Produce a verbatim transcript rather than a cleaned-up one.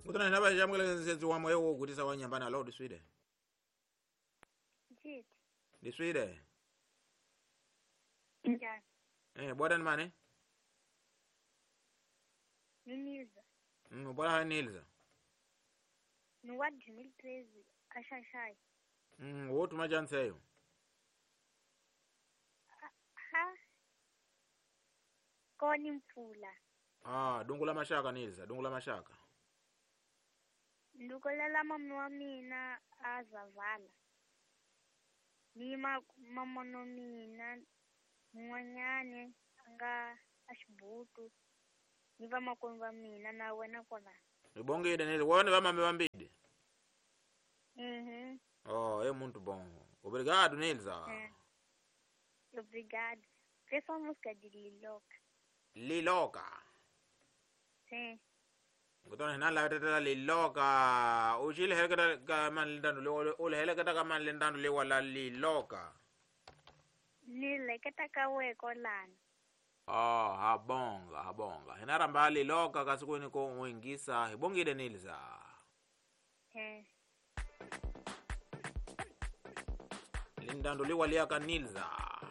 Kutana hina va jamukela nsetsi wa moya wo gutisa wa nyambana lo diswide. Jit. Diswide. Njani? Eh, bora ni mane? Ni Nilza. Mm, bora ha Nilza. Ni wa dois mil e treze, axaxai. Mm, wo tuma chance Ha. Koni mpfula. Ah, dungula mashaka Nilza, dungula mashaka. Ndukolela mama wa mina a zavala. Ni ma mamono mina n'wanyani a nga a xibutu ni vamakwenu va mina na wena kona. Ribongile Nilza, wona va mame vambili. Mhm. Oh, é muito bom. Obrigado, Nilza. É. Obrigado. Fez uma música de Liloca. Liloca. Sim. Kutana hina la tetela Liloca. U xi heleketa ka mani lentando le u heleketa ka mani lentando le wala Liloca. Ni leketa ka we kolana. Oh, habonga, habonga. Hina ramba Liloca kasi ku ni ko uingisa. Hibongile Nilza. Eh. Lindando le walia ka Nilza.